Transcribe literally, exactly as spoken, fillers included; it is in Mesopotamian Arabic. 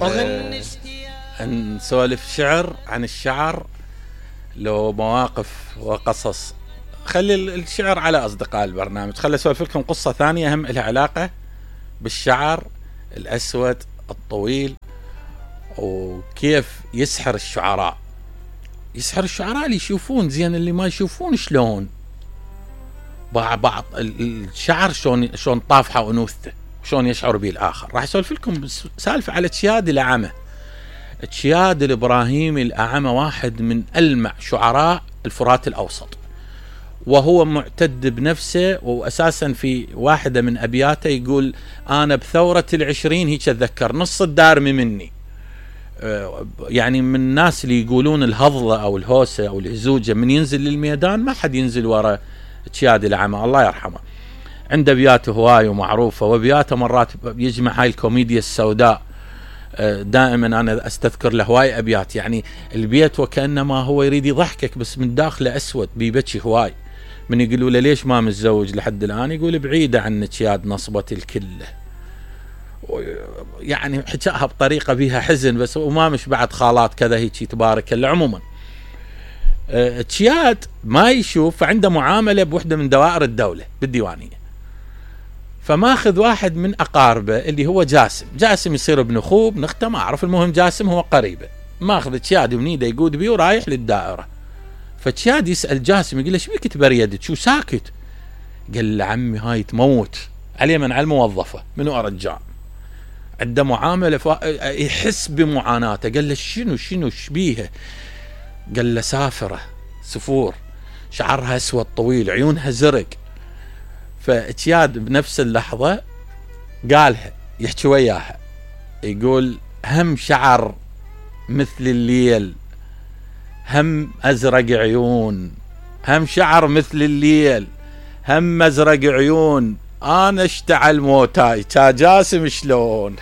أه نسولف شعر عن الشعر، لو مواقف وقصص. خلي الشعر على أصدقاء البرنامج. خلي أسولف لكم قصة ثانية هم لها علاقة بالشعر الأسود الطويل، وكيف يسحر الشعراء. يسحر الشعراء اللي يشوفون زين، اللي ما يشوفون شلون بعض الشعر شلون شلون طافحة وأنوثته شلون يشعر به الآخر. راح أسولف لكم سالفة على تشياد الأعمى. تشياد الإبراهيمي الأعمى واحد من ألمع شعراء الفرات الأوسط، وهو معتد بنفسه، وأساسا في واحدة من أبياته يقول: أنا بثورة العشرين هيك أتذكر نص الدارمي مني. يعني من الناس اللي يقولون الهضلة أو الهوسة أو الهزوجة من ينزل للميدان ما حد ينزل وراء تشياد الأعمى الله يرحمه. عنده أبياته هواي ومعروفة، وأبياته مرات يجمع هاي الكوميديا السوداء. دائما أنا أستذكر له هواي أبيات، يعني البيت وكأنما هو يريد يضحكك بس من داخله أسود بيبكي هواي. من يقولوا له ليش ما متزوج لحد الآن، يقول بعيدة عنك ياد نصبة الكلة. يعني حكاها بطريقة بيها حزن بس، وما مش بعد خالات كذا هيك تبارك الله. عموما تشياد ما يشوف، فعنده معاملة بوحدة من دوائر الدولة بالديوانية، فماخذ واحد من أقاربه اللي هو جاسم. جاسم يصير ابن أخوه ابن أخته ما أعرف، المهم جاسم هو قريبه. ماخذ تشياد ونيده يقود بيه ورايح للدائرة. فتشياد يسأل جاسم يقول له: شو بك تبريدك شو ساكت؟ قال له: عمي هاي تموت عليه من على الموظفة منو أرجع عنده معاملة ف... يحس بمعاناته. قال له: شنو شنو شبيها؟ قال له: سافرة سفور شعرها أسود طويل عيونها زرق. فتشياد بنفس اللحظة قالها يحكي وياها، يقول: هم شعر مثل الليل، هم أزرق عيون، هم شعر مثل الليل، هم أزرق عيون، أنا اشتعل موتاي تا جاسم شلون.